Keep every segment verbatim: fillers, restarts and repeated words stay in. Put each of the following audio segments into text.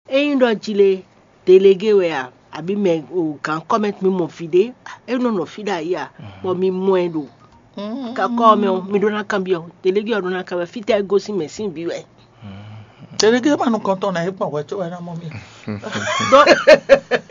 Ényí ɖɔ jí lé, délégué wɛ a, abǐ mɛ o gǎn kɔ́mɛ́ mi mɔ vǐ ɖé, é nɔ nɔ fí ɖo ayǐ a, bɔ mi mɔ ɛ ɖo kakɔ ɔ́ mɛ ɔ́, mi ɖó ná kanbyɔ́, délégué ɔ́ ɖó ná kanbyɔ́, fítɛ́ é gosín mɛ sín vǐ wɛ. Tɛnɛgé ma nukɔntɔn ná é kpɔn hwɛ có wɛ ná mɔ mì. Donc,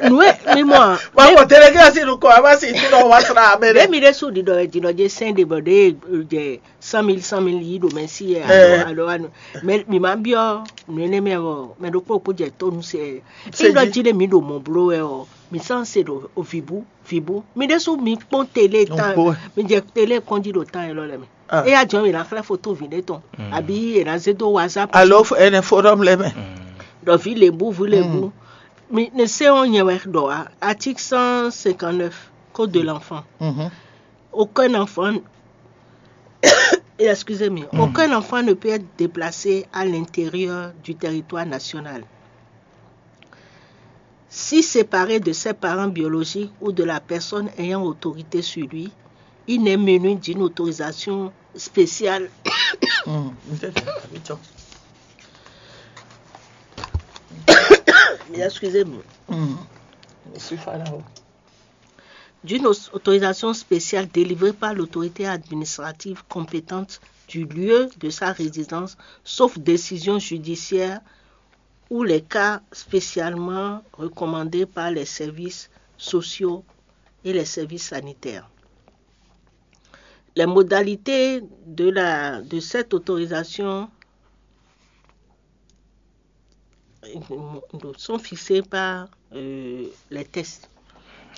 nǔ e mi mɔ a, Wá kpɔ tɛnɛgé asi nukɔ a ma si tí nɔ wá sra amɛ ɖé ɖe. mi ɖésú ɖiɖɔ wɛ ɖiɖɔ jɛ sɛn ɖe bɔ ɖé jɛ cent mille, cent mille yi ɖo mɛ sí yɛ Eh. alo alo anu. Mɛ mi ma byɔ́ nǔ énɛ́ mɛ ɔ, mɛ ɖokpó kpó jɛ tónu se. Se Égbe jí. jí ɖé mi ɖo mɔ bló wɛ ɔ, mi sán se ɖo vǐbú vǐbú. Mi ɖésú mi kpɔ́n télé tán, Ɖokpó wɛ. mi jɛ télé kpɔ́n jí ɖo tán élɔ́ lɛ mɛ. Ah. Éyá jɔn mi ná xlɛ́ foto vǐ ɖé tɔn, àbí è nǎ zé dó WhatsApp. Alo ɛnɛ forum lɛ mɛ. Ɖɔ vǐ lěbú vǐ lěbú. Mi ne se ɔ́ nyɛ wɛ ɖɔ wá. Article cent cinquante neuf, code de l'enfant. Mhm. Aucun enfant, excusez-moi, aucun enfant ne peut être déplacé à l'intérieur du territoire national si séparé de ses parents biologiques ou de la personne ayant autorité sur lui, il n'est muni d'une autorisation spéciale. Mhm. N tɛ tɛ a bɛ tsɔ. Excusez-moi. Mhm. Je suis là. D'une aus- autorisation spéciale délivrée par l'autorité administrative compétente du lieu de sa résidence, sauf décision judiciaire ou les cas spécialement recommandés par les services sociaux et les services sanitaires. Les modalités de, la, de cette autorisation sont fixées par euh, les textes.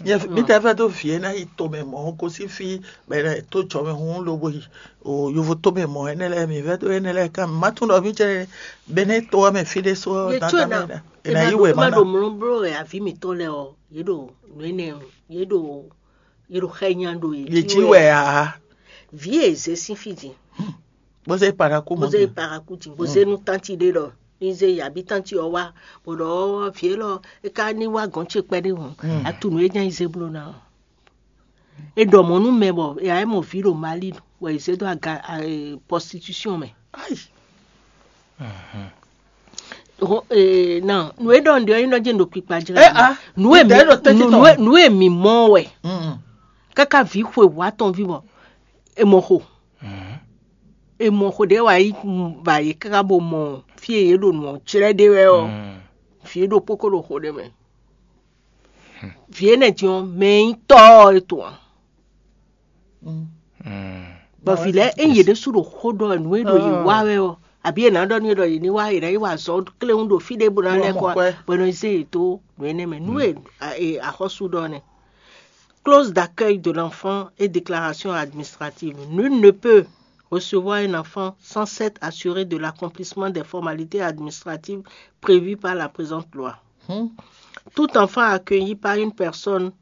Yɛ mi tɛ fɛ tó fi ena yi to mɛ mɔ ko si fi bɛ to tsɔ mɛ hun lo bo yi o yovo to mɛ mɔ ene lɛ mi fɛ tó ene lɛ kan ma tún dɔ mi tsɛ bɛ ne to mɛ fi de so Ye dan tso dan na mɛ da e ena ma yi ɖo wɛ e ma ma ɖo na mlɔ blo wɛ avi mi tɔ lɛ ɔ ye ɖo nu ene ye ɖo ye ɖo xɛ nya ɖo ye dzi wɛ a vi e ze sin fi dzi bó se para kó mɔ bó ze paraku dzi bó ze nu tanti ɖe lɔ ni ze yabi tanti ɔ wa bó ɖɔ vi e lɔ e ka ni wa gɔn tse kpɛ ɖe hɔn atu nu e nya yi ze blo na ɔ e ɖɔ mɔ nu mɛ bɔ e ayɛ mɔ vi ɖo mali wɛ e ze do aga eh, prostitution mɛ ayi Ho- eh, na nu e ɖɔ n ɖe ɔ yi nɔ dze ɖo kpikpa jra Eh, ah, nu e mi ɖe ɖo tɛ́ntin mi- tɔn. nu e- nu e mi mɔ wɛ Mm. kaka vi xwe wa tɔn vi bɔ e mɔ xo e mɔ xo ɖe wa yi va yi kaka bo mɔ fi e ye ɖo nu ɔ tsrɛ ɖe wɛ ɔ fi e ɖo kpoko ɖo xo ɖe mɛ vi e nɛ din ɔ mɛ yi tɔ ɔ e to a Mm. bɔ vi lɛ e yě ɖésú ɖo xó ɖɔ nu e ɖo yě wá wɛ ɔ àbí è nǎ ɖɔ nú yě ɖɔ yě ní wá yě ná yi wá azɔ̌ kléwún ɖo fí ɖé bó ná lɛ́ kɔ Mɔ kwɛ. Bɔ è nɔ zé yě dó nǔ énɛ́ mɛ nú e a- e axɔ́sú ɖɔ nɛ́. Clause d'accueil de l'enfant et déclaration administrative. Nul ne peut recevoir un enfant sans s'être assuré de l'accomplissement des formalités administratives prévues par la présente loi. Hmm. Tout enfant accueilli par une personne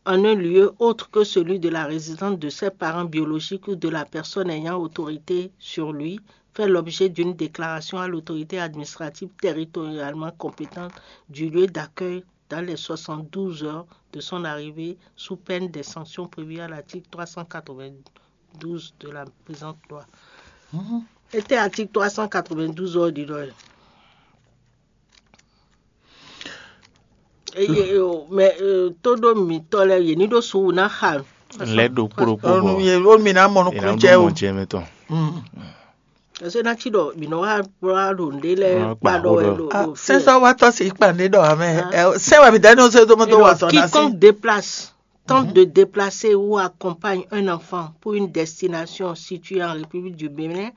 en un lieu autre que celui de la résidence de ses parents biologiques ou de la personne ayant autorité sur lui fait l'objet d'une déclaration à l'autorité administrative territorialement compétente du lieu d'accueil dans les soixante-douze heures de son arrivée sous peine des sanctions prévues à l'article trois cent quatre-vingt-douze de la présente loi. Ete article trois cent quatre-vingt-douze ɔ ɖi ɖɔ eye o mɛ todo mitɔ lɛ yě ní ɖó suwu ná xa lɛ ɖo kpóɖokpó bɔ Onu ye o mi na mɔ ìlànà nukun jɛ o. Jɛ mi tɔn. Mm. ɛsɛ ná tsi ɖɔ mì nɔ wá wá ɖo ŋɖe lɛ Wọ́n kpa kpa ɖɔ wɛ xó ɖo Ah, ɖo sɛnsɔ wa tɔ si kpa ne ɖɔ amɛ. Ɛ, sɛ wa mi da ne o se do mo do wa tɔ na si. Quiconque déplace, tente de déplacer ou accompagne un enfant pour une destination située en République du Bénin,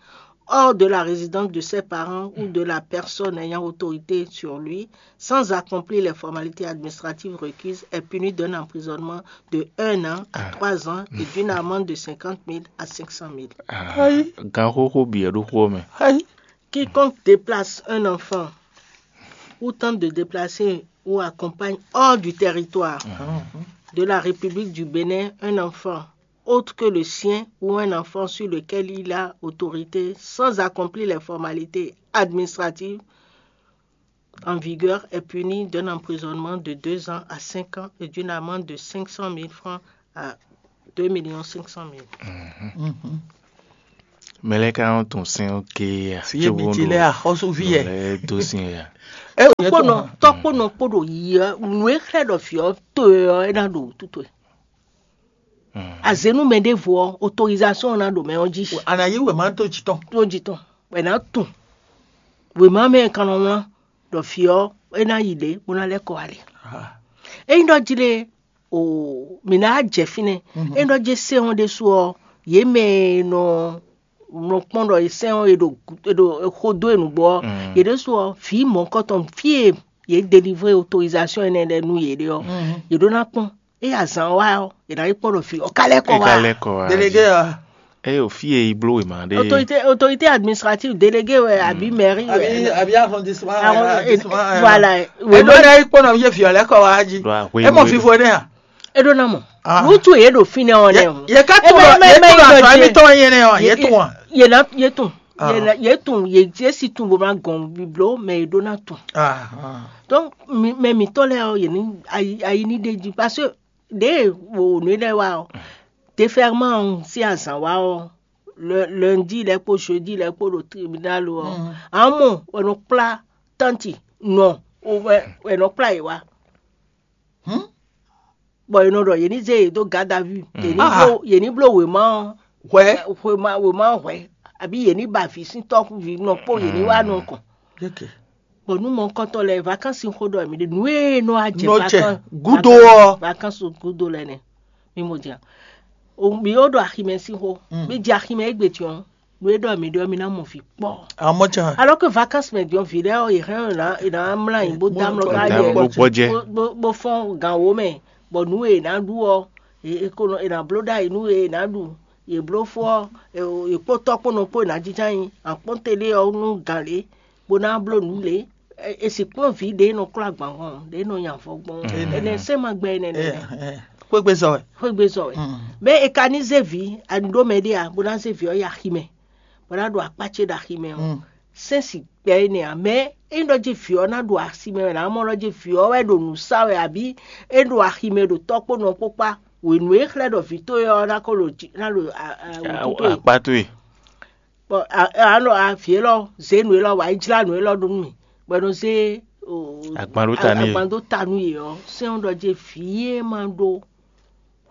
hors de la résidence de ses parents ou de la personne ayant autorité sur lui, sans accomplir les formalités administratives requises, est puni d'un emprisonnement de un an à trois ans et d'une amende de cinquante mille à cinq cent mille. Ayi. Gan xóxó bì ɛ ɖó xó mɛ. Ayi. Quiconque déplace un enfant ou tente de déplacer ou accompagne hors du territoire de la République du Bénin un enfant autre que le sien ou un enfant sur lequel il a autorité sans accomplir les formalités administratives en vigueur est puni d'un emprisonnement de deux ans à cinq ans et d'une amende de cinq cent mille francs à deux millions cinq cent mille. Mhm. Mɛ lɛ ka nɔ tun sɛn ké ya. Fi ye mi ti lɛ axɔsu fi yɛ. Lɛ do sin ya. Kpónɔ tɔ́ kpónɔ kpó ɖo yi ɔ́, nǔ e xlɛ́ ɖɔ vǐ ɔ́ to ɛ ɔ́, é ná ɖo wútu towe. Azě nú mɛ ɖěvo ɔ́, autorisation ɔ́ ná ɖo mɛ ɔ́ jí. A nǎ yí wěma tó jǐ tɔn. Tó jǐ tɔn, bɔ è nǎ tunwun wěma mɛ e kan nɔ wlán ɖɔ vǐ ɔ́ é ná yi ɖě bó ná lɛ́ kɔ wá ɖe. Ényí ɖɔ jí lé, o mǐ ná jɛ fínɛ́. Ényí ɖɔ jí sɛ́n ɔ́ ɖésú ɔ́, yě mɛ e nɔ nɔ kpɔ́n ɖɔ sɛ́n ɔ́ è ɖo è ɖo xó dó e nǔgbó ɔ́, yě ɖésú ɔ́, vǐ mɔ̌hunkɔtɔn fí e yě délivré autorisation énɛ́ lɛ́ɛ nú yě ɖe ɔ́, yě ɖó ná kpɔ́n. Ényí azǎn wá ɔ́, yě ná yi kpɔ́n ɖɔ vǐ ɔ́ ka lɛ́ kɔ wá. Ka lɛ́ kɔ wá. Délégué ɔ́. Eye o fí e yi bló wěma ɖe. Autorité autorité administrative délégué wɛ àbí mairie wɛ. Àbí àbí arrondissement. Arrondissement, voilà. Wěma ɖe yi kpɔ́n ɖɔ yé vǐ ɔ́ lɛ́ kɔ wá jí. Ɖo ahwe é mɔ fífo énɛ́ a. É ɖó ná mɔ. Wútu yě ɖo fínɛ́ ɔ́ nɛ́ o. Yě ká tún lɔ yě tún lɔ àtɔ émítɔn yé nɛ́ ɔ yě tún wa. Yě ná yě tún yě ná- yé tún yé yé si tún bó ná gɔn bíbló mɛ yě ɖó ná tún. Donc mɛ mǐtɔn lɛ́ɛ ɔ́ yě ní ayi ayi ní ɖe jí parce que ɖě wo nǔ lɛ́ɛ wa ɔ́, déferment ɔ́ sín azǎn wa ɔ́, lundi lɛ́ɛ kpó jeudi lɛ́ɛ kpó ɖo tribunal ɔ́, amɔ wɛ nɔ kplá tánti nɔ wɛ wɛ nɔ kplá yě wá. Bɔ è nɔ ɖɔ yě ní zé yě dó garde à vue, yě ní bló yě ní bló wěma ɔ́ hwɛ wěma wěma ɔ́ hwɛ, abǐ yě ní ba vǐ sín tɔ́ví nɔ kpó yě ní wá nukɔn. Bɔ nú mɔkɔntɔn lɛ́ɛ vakansi xó ɖɔ mǐ ɖe nǔ e nɔ wá jɛ gúdo ɔ́ vakansi gúdo lɛ́ɛ nɛ. Mi mo dia o mi o ɖo aximɛ sín xó mi jɛ aximɛ égbé tiɔn nú é ɖɔ mi ɖɔ mi ná mɔ vǐ kpɔ. Amɔ́ can. Alors que vacances mɛ diɔn vǐ lɛ́ɛ ɔ́ yě hɛn ɔ́ yě ná mlá yín bó dá mlɔ ká yɛ bó gbɔjɛ bó fɔ́n gǎn wó mɛ, bɔ nǔ e yě ná ɖu ɔ́ yě ko nɔ yě ná bló ɖ'ayǐ nú e yě ná ɖu, yě bló fó ɔ́ yě kpó tɔ́ kpó nɔ kpó yě ná jínjɔ́n ayǐ, akpɔ́ntɛ́ ɖé ɔ́ nú gǎn lě bó ná bló nǔ lě. È sì kplɔ́n vǐ ɖě nɔ klɔ́ agban hɔn ɖě nɔ nya avɔ gbɔn. Ɛnɛ sɛ́n ma gbɛ ɛnɛ nɛ. Xwégbezɔ wɛ. Xwégbezɔ wɛ. Mɛ è ka ní zé vǐ, a ní ɖó mɛ ɖé a bó ná zé vǐ ɔ́ yi aximɛ bó ná ɖo akpá ce ɖo aximɛ ɔ́, sɛ́n sì gbɛ énɛ́ ǎ. Mɛ é ɖɔ jí vǐ ɔ́ ná ɖo aximɛ wɛ ná mɔ ɖɔ jí vǐ ɔ́ wɛ ɖo nǔ sa wɛ abǐ é ɖo aximɛ ɖo tɔ́ kpó nɔ kpó kpá. Wěnú e xlɛ́ ɖɔ vǐ towe ɔ́ ná ko ɖo jí ná ɖo wǔtu towe. Akpá towe. Bɔ a nɔ avi élɔ́ zě nǔ élɔ́ wǎ yi jlá nǔ élɔ́ ɖó nú mì, bɔ é nɔ zé Agban ɖó ta nú yě. Agban ɖó ta nú yě ɔ́, sɛ́n ɔ́ ɖɔ jɛ vǐ e ma ɖó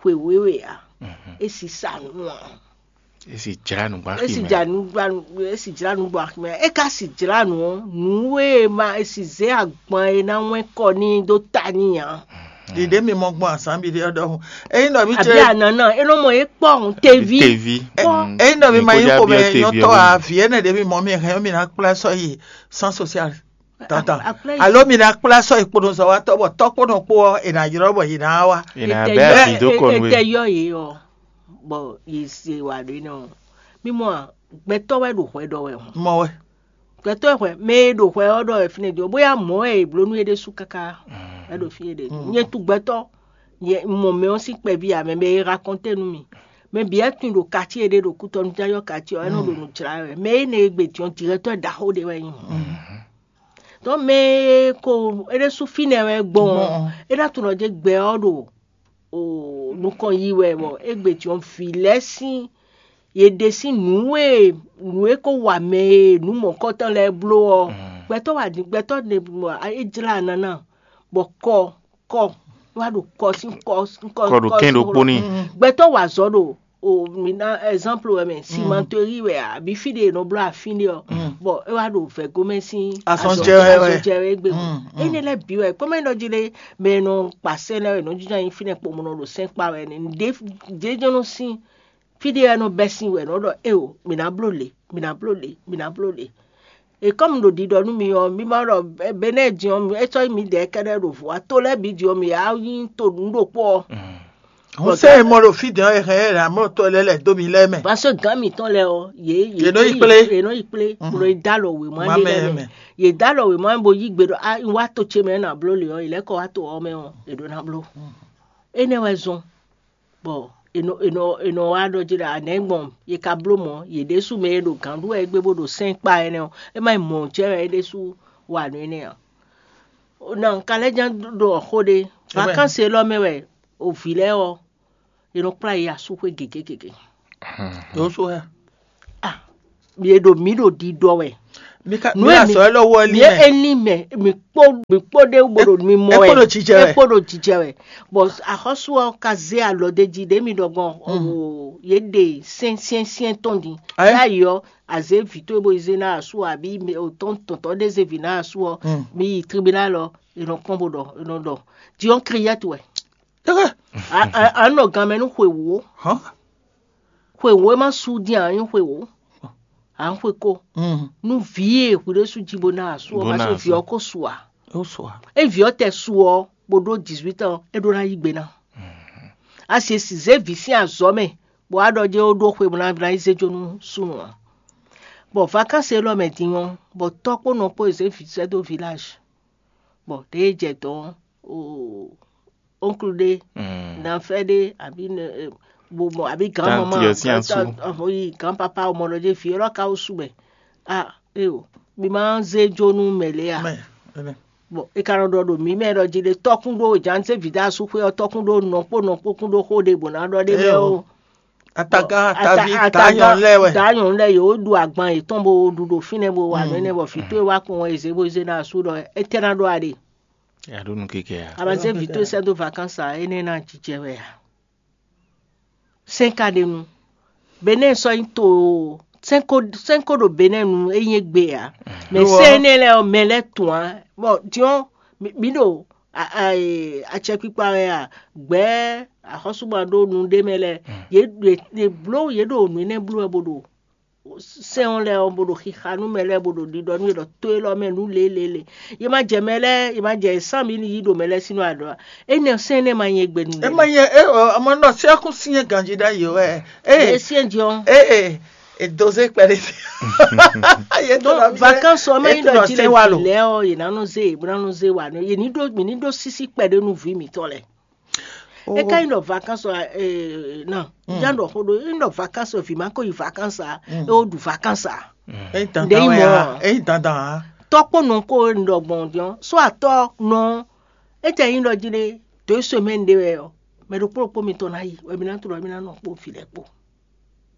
xwe wěwe ǎ, é si sa nǔ ǎ. É si jlá nǔ gbá é si xi mɛ. Jlá nǔ gbá é si jlá nǔ gbɔ aximɛ. É ka si jlá nǔ ɔ́, nǔ e ma é si zě agban e ná wɛn kɔ n'i ɖó ta n'i ǎ. Ɖiɖe mi mɔ gbɔn azǎn bi ɖe ɔ́ ɖɔhun. Eyi nɔ mi Àbí ce anana é nɔ mɔ é kpɔ́ teví. Tevi. Eyi nɔ mi ma yi xomɛ nyɔtɔ a vi ene ɖe mi mɔ mi hɛn mi na kplá sɔ yi sans social. Tata. Alo mi na kplá sɔ yi kpoɖo zɔ wa tɔ bɔ tɔ kpoɖo kpo ɔ e na yrɔ bɔ yi na wa. Ina bɛ afi do kɔ nu Etɛ e. Yɔ yě ɔ bɔ yě se wà ɖé nɔ. Mímɔ gbɛtɔ wɛ ɖo hwɛ ɖɔ wɛ hɔn. Mɔ wɛ. Gbɛtɔ hwɛ mɛ e ɖo hwɛ ɔ ɖɔ wɛ fínɛ jɔ bóyá mɔ ɛ bló nú é ɖésú káká. Ɛ ɖo fí é ɖe nyɛ tu gbɛtɔ. Yɛ mɔ mɛ ɔ sín kpɛví amɛ mɛ e rakɔntɛ nú mi. Mɛ bǐ ɛ tún ɖo kati e ɖe ɖo kútɔnu já yɔ kati ɔ ɛ nɔ ɖo nǔ jlá wɛ mɛ e nɛ e gbe diɔn dirɛtɔ ɖaxó ɖe wɛ nyi. Tɔn mɛ e ko é ɖésú fínɛ wɛ gbɔn é ná tunɔ jɛ gbɛ ɔ ɖo nukɔn yi wɛ bɔ égbé jɔn vǐ lɛ́ɛ sín yě ɖe sín nǔ e nǔ e ko wa mɛ e nǔ mɔ̌kɔtɔn lɛ́ɛ bló ɔ gbɛtɔ́ wa din gbɛtɔ́ ɖe é jlá nana bɔ kɔ kɔ wá ɖo kɔ sín kɔ sín kɔ Kɔ ɖo kɛn ɖokpó n'i. Gbɛtɔ́ wa azɔ̌ ɖo o mi ná exemple wɛ mɛ cimenterie wɛ àbí fí ɖe è nɔ bló afín ɖe ɔ bɔn é wá ɖo vɛgomɛ sín Azɔn jɛ wɛ wɛ. Azɔn jɛ wɛ gbé. Énɛ́ lɛ́ɛ bǐ wɛ kpɔ́mɛ nɔ jí lé mɛ e nɔ kpa sɛ́n lɛ́ɛ wɛ nɔ jínjɔ́n nyi fínɛ́ kpomɔnɔ ɖo sɛ́n kpa wɛ nɛ́ ɖě jɛ́n nɔ sín fí ɖé wɛ nɔ bɛ́ sín wɛ nɔ ɖɔ éo mǐ ná bló lě mǐ ná bló lě mǐ ná bló lě. È kɔ́ mi ɖo ɖiɖɔ nú mi ɔ́, mi ma ɖɔ Benɛ́ɛ din ɔ́, é sɔ́ nyí midɛɛ kɛ́ɖɛ́ ɖo vɔ̌ ǎ. To lɛ́ɛ bǐ din ɔ́, mǐ wá nyí to nǔ ɖokpó ɔ́. Hǔn sɛ́ e mɔ ɖo fí din ɔ́, è hɛn ɛ ɖo amlɔ tɔn lɛ́ɛ lɛ̌ dó mi lɛ́ɛ mɛ. Parce que gǎn mǐtɔn lɛ́ɛ ɔ́, yě Yě nɔ yi kplé. Yě nɔ yi kplé, bó nɔ yi dó alɔ wěma Wěma ɖé mɛ lɛ́ɛ mɛ. Mɛ. Yě dó alɔ wěma bó yí gbe ɖɔ á un wá to ce mɛ ná bló lě ɔ́, yě lɛ́ kɔ wá to ɔ́ mɛ ɔ́, è ɖǒ ná bló. Énɛ́ wɛ zɔ́n. Bɔ è nɔ è nɔ è nɔ wá ɖɔ jí ɖɔ anɛ̌ gbɔn è ka bló mɔ̌ yě ɖésú mɛ e ɖo gǎn ɖu wɛ é gbé bó ɖo sɛ́n kpa énɛ́ ɔ́, é má nyí mɔ̌ jɛ́n wɛ é ɖésú wa nǔ énɛ́ ǎ. Na un ka lɛ́ ján ɖɔ xó ɖé, vakansi élɔ́ mɛ wɛ o vǐ lɛ́ɛ ɔ́, è nɔ kplá yě yi asúxwé gěgé gěgé. Yǒsú hɛ. Ah, yě ɖo mǐ ɖo ɖiɖɔ wɛ. Mi ka Nú mi emi- azɔ ɛ lɔ wɔ li Ye mɛ. Eni mɛ, mi kpó mi kpó ɖé bo ɖo mi mɔ Ɛ kpó ɖo jijɛ wɛ. Ɛ kpó ɖo jijɛ wɛ. Bɔn axɔ́sú ɔ́ ka zé alɔ ɖé jí ɖě mi ɖɔ gbɔn o, yě ɖe syɛ́nsyɛ́nsyɛ́n tɔn din. Ayé. Yá yi ɔ́, azě vǐ towe bo yi zé ná asú ɔ, abǐ mɛ- o tɔn tɔntɔn ɖé zé vǐ ná asú ɔ́, Mm. Mi yi tribunal ɔ́, è nɔ kpɔ́n bó ɖɔ è nɔ ɖɔ. Diɔn kriyɛt wɛ. Tɛgɛ. A- a- a nɔ gan mɛ nú xwe wǒ. Hɔn. Xwe wǒ é má sú dín a nyí xwe wǒ. A ń xwe kó. Mm. Nú vǐ e hwi ɖé sú jí bó ná asú ɔ Bó má ná sú asú. Vǐ ɔ́ kó su ǎ. Ó sɔ a. É vǐ ɔ́ tɛ su ɔ́ bó ɖó dix-huit ans é ɖó ná yí gbe ná. A si e si zé vǐ sín azɔ̌ mɛ bɔ á ɖɔ jɛ́n ó ɖó xwe bó ná ná yi zé jó nú súnnu ǎ. Bɔ vakansi élɔ́ mɛ din ɔ́, bɔ tɔ́ kpó nɔ kpó e zé vǐ sɛ́ dó vilage. Bɔ ɖěe jɛ dɔ̌n o oncle ɖé, nafɛ ɖé, abǐ ne- eh, bo mɔ abǐ grand maman, Tante ɔ́ sín asú. Yi grand papa, ọmọ ɖɔ jɛ vǐ élɔ́ ka wó sú mɛ. Ah, eo, mi ma zé jó nú mɛ lě a? Mɛ, ɛnɛ. Bon, e ka nɔ ɖɔ ɖo mǐ mɛ ɖɔ jí ɖe tɔ́kún ɖó jǎnse vǐ dó asúxwé ɔ́, tɔ́kún ɖó nɔkpó nɔkpó kún ɖó xó ɖé bó ná ɖɔ ɖé mɛ Eo. O. Ataga, Bon, tavi, ata- ta ataga- nyɔnu lɛ wɛ. Ta nyɔnu lɛ yě wó ɖu agban yětɔn bo ɖu ɖo fínɛ́ bo wa nǔ énɛ́ bɔ vǐ towe wá kpɔn wɛ zě bó zé ná asú ɖɔ étɛ́ ná ɖɔ aɖe. Ya ɖó nú keke ya. Abazé vǐ towe sɛ́ dó vakansi a énɛ́ ná jijɛ wɛ a? Sɛ́n ka ɖe nu. Benɛ́ sɔ́ nyí to sɛ́n ko sɛ́n ko ɖo Benɛ́ nu é nyí égbé ǎ. Mɛ Lo ɔ́. Sɛ́n énɛ́ lɛ́ɛ ɔ́, mɛ lɛ́ɛ tun ǎ. Bɔ diɔ́n mǐ ɖo acɛkpikpa wɛ a, gbɛ̌ axɔ́súgbɔn ɖó nu ɖé mɛ lɛ́ɛ, yě ɖe bló yě ɖo nǔ énɛ́ bló wɛ bó ɖo sɛ́n ɔ́ lɛ́ɛ ɔ́, bó ɖo xixa nú mɛ lɛ́ɛ, bó ɖo ɖiɖɔ nú yě ɖɔ tó élɔ́ mɛ nú lělélé. Yě ma jɛ mɛ lɛ́ɛ, yě ma jɛ sán mǐ ní yí ɖo mɛ lɛ́ɛ sín nɔ aɖɔ. Énɛ́ sɛ́n énɛ́ ma nyɛ gbe nú É mɛ. Ma nyɛ é ɔ, ɔmɔ nɔ sí ɔkún sí nyɛ ganjí ɖ'ayǐ wɛ. Yě É syɛ́n jɔ. É é é dozé kpɛɖé. Yé tó Donc, nɔ bí vacances ɔ́ mɛ é nyí tó ɖɔ nɔ jí lɛ sɛ́n wá vǐ lo. Lɛ́ɛ ɔ́, yě ná nɔ zé yě bó ná nɔ zé wa nɔ. Yě ní ɖó mǐ ní ɖó sísí kpɛɖé nú vǐ mǐtɔn lɛ́ɛ. É ka nyí ɖɔ vacances ɔ́, eh, non, já ɖɔ xó ɖó, é nyí ɖɔ vacances ɔ́, vǐ ma ko yi vacances ǎ, é wó ɖu vacances ǎ. Eyi Ɖe dandan yi wɛ mɔ. A, eyi dandan a. Tɔ́ kpó nɔ kó un ɖɔ gbɔn din ɔ́, só atɔ́ nɔ, é tɛ nyí ɖɔ jí ɖé, deux semaines ɖé wɛ ɔ́, mɛ ɖokpó ɖokpó mitɔn ná yi, wɛ mi ná tlɔ, mi ná nɔ kpó vǐ lɛ́ɛ kpó.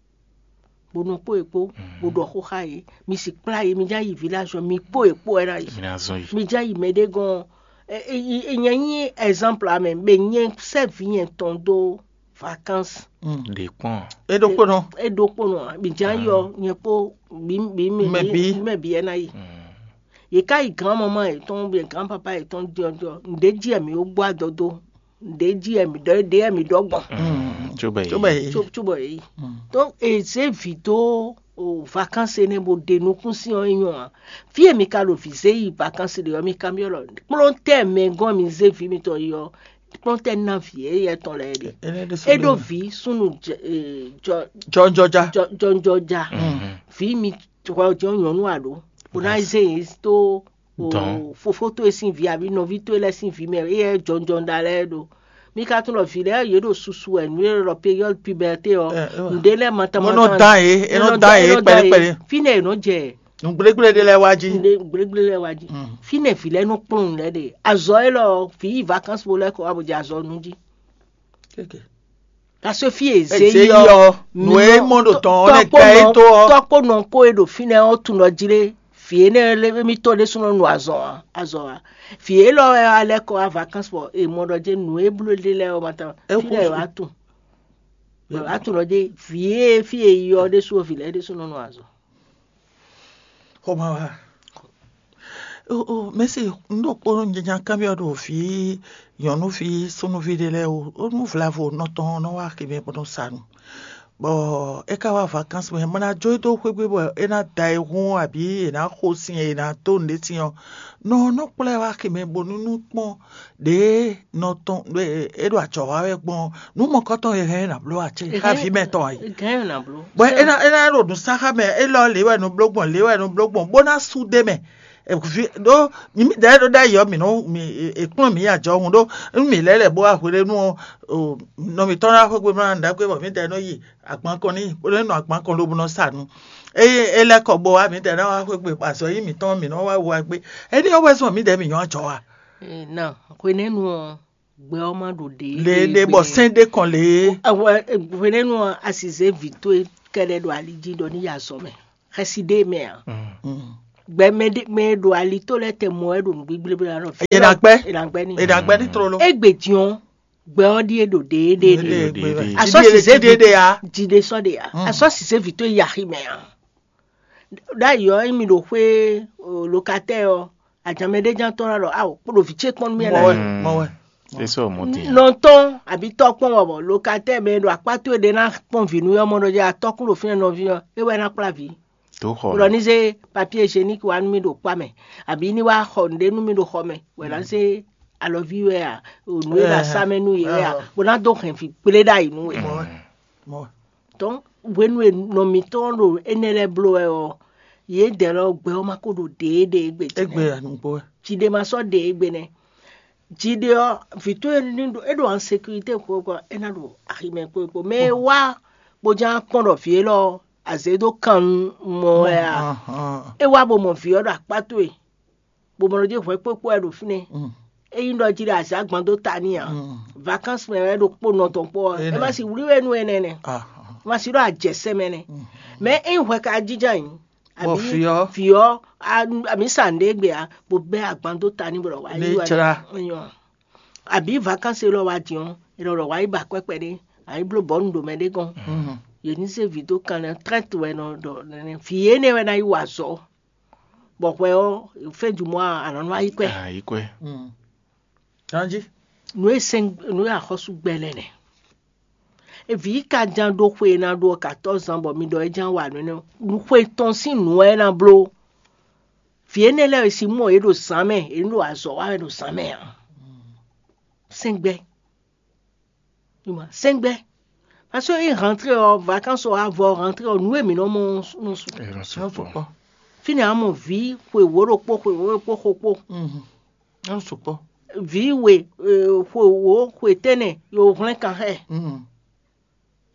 Bó nɔ kpó yě kpó, bó ɖɔ xó xá yě, mi si kplá yě, mi já yi village ɔ́, mi kpó yě kpó wɛ ná yi. Mi ná zɔn yi. Mi já yi mɛ ɖé gɔ́n, ɛ, ɛ, ɛ, nyɛ nyí exemple amɛ, bɛ nyɛ sɛ́ vǐ nyɛ tɔn dó vacances. Ɖě kpɔn. É ɖokpónɔ. É ɖokpónɔ, mi já yi ɔ́, nyɛ kpó bí bí mi Mɛ bí. Mɛ bí ɛ ná yi. Yě ká yi grand maman yětɔn, bien grand papa yětɔn diɔdiɔ, ǹɖé jí ɛ mi ó gbɔ adɔ dó, ǹɖé jí ɛ mi ɖɔ, ɖé ɛ mi ɖɔ gbɔn. Tso bɛ Tó bɛ yé. Yé. Tso tso bɔ yě yi. Donc eze vǐ dó o vacances énɛ́ bó ɖe nukún sín ɔ́ é nyɔ́ ǎ. Fí e mi ka ɖo vǐ zé yi vacances ɖe ɔ́, mi ka byɔ́ lɔ kplɔ́ntɛ́ mɛ gɔ́n mi zé vǐ mitɔn yi ɔ́, kplɔ́ntɛ́ ná vǐ éyɛ́ tɔn lɛ́ɛ ɖe. Énɛ́ ɖésú É ɖó ɖó. Vǐ súnnu jɛ- e, jɔ- Jɔnjɔja. Jɔ- jɔnjɔja. Vǐ mi hwɛ jɔ nyɔ̌nu a ɖǒ bó ná zé yě tó o Dɔn. Fofó towe sín vǐ abǐ nɔví towe lɛ́ɛ sín vǐ mɛ éyɛ́ jɔnjɔn ɖa lɛ́ɛ ɖo. Mi ka tunɔ vǐ lɛ́ɛ yě ɖo susu wɛ nǔ e ɖɔ période puberté ɔ́, Ɛ, ɛ. Ǹɖé lɛ́ɛ mata Bó nɔ dán yě, é nɔ dán yé kpɛɖékpɛɖé. Fínɛ́ è nɔ jɛ Nǔgblégbléɖé lɛ́ɛ wá jí. Ǹɖé gblégbléɖé lɛ́ɛ wá jí. Fínɛ́ vǐ lɛ́ɛ nɔ kplɔ́n nǔ lɛ́ɛ ɖe. Azɔ élɔ́ ɔ́, vǐ yi vacances bó lɛ́ kɔ wá bó jɛ azɔ nú jí. Kéke. Parce que fí e zé Eze yi yɔ yɔ, nǔ e mɔ ɖo tɔn ɔ́ nɛ tɔkpó gbɛ é nɔ- tó ɔ́. Tɔkpó nɔ kó e ɖo fínɛ́ ɔ́ tunɔ jí lé, vǐ énɛ́ lé mi tɔn ɖésúnɔ nu azɔn ǎ, azɔn ǎ. Vǐ élɔ́ wɛ wá lɛ́ kɔ wá vacances bɔ è mɔ ɖɔ jɛ́n nǔ e bló ɖe lɛ́ɛ ɔ́ ma tán. É Fínɛ́ kúsu. Wá tun. Wá tun ɖɔ jɛ́n vǐ e fí e yi ɔ́ ɖésú vǐ lɛ́ɛ ɖésúnɔ nu azɔn. Xomawá. O o mɛsi, un ɖo kpónɔ nyanya kanbyɔ́ ɖo vǐ nyɔ̌nuví súnnuví ɖé lɛ́ɛ o. Ó nú vlavo nɔ tɔn nɔ wá xi mɛ bó nɔ sa nu. Bɔ é ka wá vacances mɛ, mɔ ná jó é dó xwé gbe bɔ é ná da e hún abǐ è nǎ xo sin e è nǎ dó nǔɖé sin ɔ́, nɔ nɔ kplá ɛ wá xi mɛ bónú nú kpɔ́n ɖěe nɔ tɔn é ɖo ajɔ̌ wa wɛ gbɔn nǔ mɔkɔ́tɔn e hɛn ná bló ǎ cé xá vǐ mɛ tɔn ǎ yi. Gɛn na blo. Bɔ é ná é ná ɖo nǔsáxa mɛ élɔ́ lě wɛ nɔ bló gbɔn lě wɛ nɔ bló gbɔn bó ná sú ɖ'é mɛ. Ɖó mǐdɛɛ ɖó ɖ'ayǐ ɔ́ mǐ nɔ mǐ è kplɔ́n mǐ yi ajɔhun ɖó nú mǐ lɛ́ lɛ̌ bó wá hweɖénu ɔ́, nɔ mǐtɔn ná xwé gbe mlá nǔɖagbe bɔ mǐdɛɛ nɔ yi agban kɔn n'i bó nɔ́ nɔ agban kɔn lobo nɔ sa nu. Eye é lɛ́ kɔ bó wá mǐdɛɛ ná wá xwé gbe bɔ azɔ̌ yí mǐtɔn mǐ nɔ wá wu wá gbé. Énɛ́ ɔ́ wɛ zɔn mǐdɛɛ mǐ nyɔ́ ajɔ a? Na hwenɛ́nu ɔ́, gbɛ ɔ́ má ɖo ɖě Lě ɖě bɔ sɛ́n ɖé kɔn lě é. Hwenɛ́nu ɔ́, a si zě vǐ towe kɛɖɛ ɖo ali jí ɖɔ ní yi azɔ̌ mɛ. Xɛsi ɖé mɛ ǎ. Mm. Gbɛ mɛ ɖe mɛ e ɖo ali tó lɛ́ɛ tɛ mɔ wɛ ɖo nǔgbígblé blá nɔ. È nǎ gbɛ́. È nǎ gbɛ́ n'i. È nǎ gbɛ́ ní tlóló. Égbè din ɔ́, gbɛ ɔ́ ɖíe ɖo ɖěeɖe Ɖe- ɖe. ɖe- ɖe. Asɔ sise vi Ɖiɖe jide sɔ ɖe ya. Asɔ sise vi tó yi axi mɛ a. Ɖ'ayǐ ɔ́, émi ɖo xwé lokatɛ ɔ́, adzamɛ ɖé ján tɔn ɖɔ awo kpo ɖo vǐ ce kpɔ́n nú mì mɔ wɛ ɛnɛ. Mɔ wɛ. C'est ça, mon Dieu. Nɔtɔn àbí tɔkpɔn wɔ bɔ lokatɛ mɛ ɖo akpá towe ɖe ná kpɔn vǐ nú yɔmɔ ɖɔ jɛ atɔkùn ɖo fínɛ nɔví ɔ́, é wɛ ná kplá vǐ. Tó xɔ Ɖɔ ní zé papier hygiénique wá nú mì ɖo kpá mɛ, àbí ní wá xɔ nǔɖé nú mì ɖo xɔ mɛ, wɛ ná zé alɔví wɛ a, nǔ e ɖo asá mɛ nú yě wɛ a, bó ná dó hɛn vǐ kplé ɖ'ayǐ nú we. Mɔ wɛ. Mɔ wɛ. Donc hwenu e nɔ mǐtɔn ɖo énɛ́ lɛ́ɛ bló wɛ ɔ́, yědɛɛ lɔ gbɛ ɔ́ ma ko ɖo ɖěeɖée gbe jí Égbé nɛ́. anugbo wɛ. Jiɖe ma sɔ́ ɖe égbé nɛ́. Jiɖe ɔ́, vǐ towe ní ɖo é ɖo insécurité kpokpo é ná ɖo aximɛ kpokpo. Mɛ e wá bó ján kpɔ́n ɖɔ vǐ élɔ́ azě dó kan mɔ wɛ a? É wá bó mɔ vǐ ɔ́ ɖo akpá towe, bó mɔ ɖɔ jí hwɛ kpókpó wɛ ɖo fínɛ́. É nyí ɖɔ jí ɖo azǎ gbɔn dó ta n'i ǎ. Vacances mɛ wɛ ɖo kpó nɔ tɔn kpó ɔ́, é má si wlí we nú énɛ́ nɛ́. É má si ɖɔ ajɛsɛ́ mɛ nɛ́. Mɛ é nyí hwɛ ka jínjɔ́n ayǐ. Bɔ Àbí fí ɔ́? Fí ɔ́, a- àmì sàn ɖé gbé a, bó bɛ́ agban dó ta ní bó ɖɔ wá Ní yí wá tsra. Nyɔ. Àbí vacances lɔ wá dín ɔ́, é lɔ ɖɔ wá yí ba kwɛ́kwɛ ɖé, a yí bló bɔ̌nu ɖo mɛ ɖé gɔ́n. Yě ní zé vǐ dó kan lɛ trɛ́t wɛ nɔ ɖɔ nɛnɛ. Vǐ énɛ́ wɛ ná yí wa azɔ̌. Bɔ hwɛ ɔ́, fɛ́n du mɔ a nɔ nɔ ayí kwɛ. Ayíkwɛ. Ganjí. Nǔ e sɛn nǔ e axɔ́sú gbɛ lɛ nɛ. Eví ka ján ɖó xwe e ná ɖó ɔ́ katɔ́ zán bɔ mi ɖɔ é ján wa nǔ énɛ́. Xwe tɔn sín nǔ wɛ é ná bló. Vǐ énɛ́ lɛ́ɛ e si mɔ yě ɖo zǎn mɛ, yě ɖo azɔ̌ wa wɛ ɖo zǎn mɛ ǎ. Sɛngbɛ. Ima, sɛngbɛ. Parce que é rentré ɔ́, vacances ɔ́ avɔ rentré ɔ́, nǔ e mǐ nɔ mɔ ɔ́ nɔ su. Ẹ nɔ Nɔ sukpɔ. sukpɔ. Fínɛ́ a mɔ vǐ xwe wǒ ɖokpó xwe wǒ ɖokpó xo kpó. Mhm. Nɔ sukpɔ. Vǐ we eh, xwe wǒ xwe tɛ́nɛ yo hwlɛ́n kan xɛ. Mhm.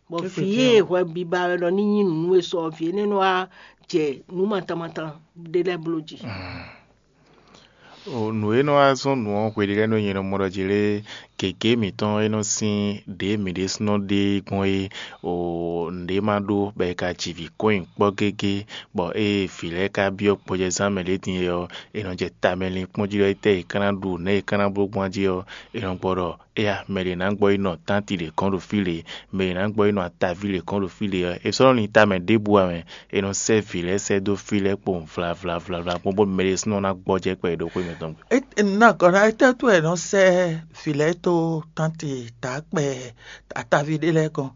Bɔ Kéfì vǐ tɛ́nɛ. e hwɛ biba wɛ nɔ ní nyí nǔ e sɔ vǐ énɛ́ nɔ wá jɛ nǔ matamatam ɖé lɛ́ɛ bló jí. O nǔ e nɔ wá zɔ́n nǔ ɔ́ hweɖé lɛ́ɛ nɔ nyɛ nɔ mɔ ɖɔ jí lé gěgé mǐtɔn e nɔ sín ɖě mǐ ɖésúnɔ ɖe gbɔn é o nǔɖé ma ɖó bɔ è ka ji vǐ kɔn nyi kpɔ́ gégé bɔ ée vǐ lɛ́ɛ ka byɔ́ gbɔjɛzán mɛ ɖě din é ɔ́, è nɔ jɛ tamɛ linkpɔ́n jí ɖɔ étɛ́ è ka ná ɖu nɛ̌ è ka ná bló gbɔn jí ɔ́, è nɔ gbɔ ɖɔ éya mɛ ɖě ná gbɔ yi nɔ tánti ɖě kɔn ɖo fí lě, mɛ ɖě ná gbɔ yi nɔ ataví ɖě kɔn ɖo fí lě ɔ́, è sɔ́ nɔ lin tamɛ ɖěbǔ ǎ mɛ, è nɔ sɛ́ vǐ lɛ́ɛ sɛ́ dó fí lɛ́ɛ kpowun vlavlavla kpɔ́n bó mɛ ɖésúnɔ ná gbɔjɛ́ kpɛɖé ɖo xwé mǐtɔn gbe. Ná gɔ̌ ná étɛ́ tó wɛ è nɔ sɛ́ vǐ lɛ́ɛ tó tánti dǎkpɛ ataví ɖé lɛ́ɛ kɔn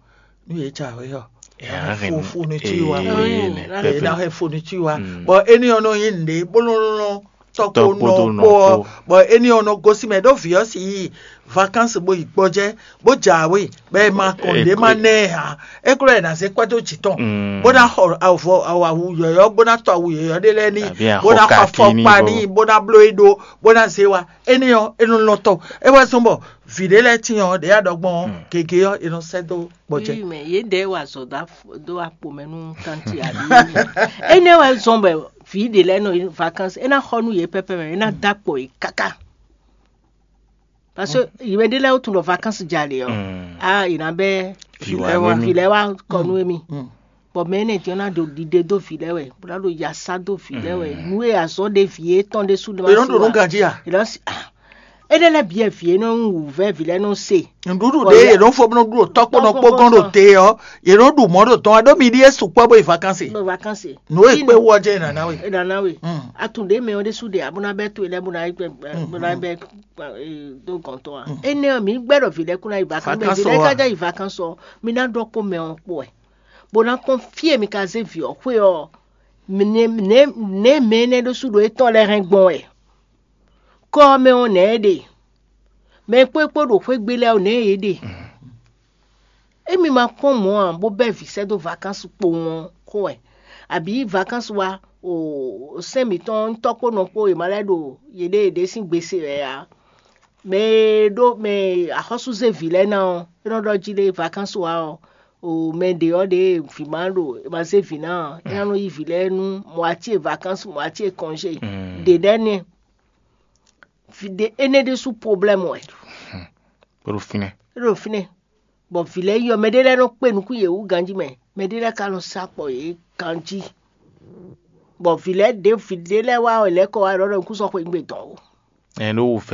nú yě jǎwe ɔ́? Ɛ, Fo fo ní tí wa. ee, nɛ, Èyí pɛpɛ. Ná hɛn fo ní tí wa. Bɔn éní ɔ́ nɔ nyí nǔɖé bó nɔ lɔn tɔkpo Tɔkpo nɔ tó nɔ kpó ɔ́. kpó. Bɔn éní ɔ́ nɔ gosín mɛ ɖó vǐ ɔ́ sì yí vacances bó yi gbɔjɛ́ bó jǎwe bɔ ɛ ma kɔn Ɛ, nǔɖé ma kó- nɛ ɛ hǎn. É kúrò ɛ ná zé kwɛ́ dó jǐ tɔn. Mm. Bó ná xɔ avɔ awu yɔ̌yɔ́ bó ná tɔ awu yɔ̌yɔ́ ɖé lɛ́ɛ ní. Àbí Bó ná axɔ xɔ kaki ní afɔkpa bó- ní bó ná bló é ɖó bó ná zé wa. Éní ɔ́ é nɔ lɔn tɔ. É wɛ zɔ́n bɔ vǐ ɖé lɛ́ɛ tín ɔ́ ɖě aɖɔgbɔn ɔ́ gěgé ɔ́ é nɔ sɛ́ dó gbɔjɛ́. Oui, mais yě ɖɛ wa zɔ dó a- dó akpo mɛ nú tanti ali. Énɛ́ wɛ zɔn bɛ vǐ ɖe lɛ́ɛ nɔ vacances é ná xɔ nú yě pɛpɛ mɛ é ná dó akpo yě káká. Parce que yìmɛ ɖé lɛ́ɛ ó tún ɖɔ vacances jalè ɔ́. Mm. Ah, yě ná bɛ Vǐ wa Vǐ wé mi. vǐ lɛ́ɛ wá kɔ nú émi. Bɔn mɛ énɛ́ jɔ ná ɖo ɖiɖe dó vǐ lɛ́ɛ wɛ, bó ná ɖo yasa dó vǐ lɛ́ɛ wɛ. Nú e azɔ́ ɖe vǐ étɔn ɖésú ɖe È nɔ ɖo nú ganjí a? Ìlọsí ah, énɛ́ lɛ́ɛ bíyɛ vǐ é nɔ wú vɛ́ vǐ lɛ́ɛ nɔ se. Nǔɖuɖu ɖé yě nɔ fó bó nɔ ɖu ɖo tɔkpɔnɔ kpó gɔn ɖo te ɔ́ yě nɔ ɖu mɔ̌ ɖo tɔn wá ɖó mi ɖíe sukpɔ́ bó yi vacances. Ɖo vacances. Nǔ e kpé wú ɔ́ jẹ́ ìnàná we. Ìdáná we. Atún ɖé mɛ ɔ́ ɖésú ɖe abó ná bɛ́ tó ilẹ̀ bó ná bó ná bɛ́ dó gɔn tɔn a. Énɛ́ ɔ́ mi gbɛ́ ɖɔ vǐ lɛ́ɛ kún ná yi vacances. Mɛ vǐ Vacances lɛ́ɛ ɔ́ ká a? já yi vacances ɔ́, mi ná ɖɔ kó mɛ ɔ́ kpó ɛ. Bó ná kpɔ́n fí e mi ka zé vǐ ɔ́ xwé ɔ́, nɛ̌ mɛ énɛ́ ɖésú ɖo étɔn lɛ́ɛ hɛn gbɔn wɛ. Kɔ́ ɔ́ mɛ ɔ́ nɛ̌ é ɖe? Mɛ e kpó é kpó ɖo xwé gbe lɛ́ɛ ɔ́ nɛ̌ yě ɖe? Émi ma kpɔ́n mɔ̌ ǎ bó bɛ́ vǐ sɛ́ dó vacances kpowun ɔ́ xó wɛ, abǐ vacances wá o sɛ́n mǐtɔn tɔ́ kpó nɔ kpó è ma lɛ́ ɖo yěɖée yěɖée sín gbe se wɛ ǎ. Mɛ e ɖó mɛ e axɔ́súzé vǐ lɛ́ɛ ná ɔ́, é nɔ ɖɔ jí ɖé vacances wá ɔ́, o mɛ ɖě ɔ́ ɖě vǐ ma ɖo è ma zé vǐ ná ɔ́, é ná nɔ yí vǐ lɛ́ɛ nú moitié vacances moitié congé. Ɖě ɖɛ́ nɛ́. Vǐ ɖé énɛ́ ɖésú problème wɛ. Kpódó fínɛ́. É ɖo fínɛ́. Bɔ vǐ lɛ́ɛ yɔ mɛ ɖé lɛ́ɛ nɔ kpé nukún yě wú ganjí mɛ, mɛ ɖé lɛ́ɛ ka nɔ sá kpɔ yě ganjí. Bɔ vǐ lɛ́ɛ ɖě vǐ ɖé lɛ́ɛ wá wɛ lɛ́ kɔ wá ɖɔ ɖɔ nukúnzɔ́xwé ngbé dɔn o. Ɛn ɖó wǔ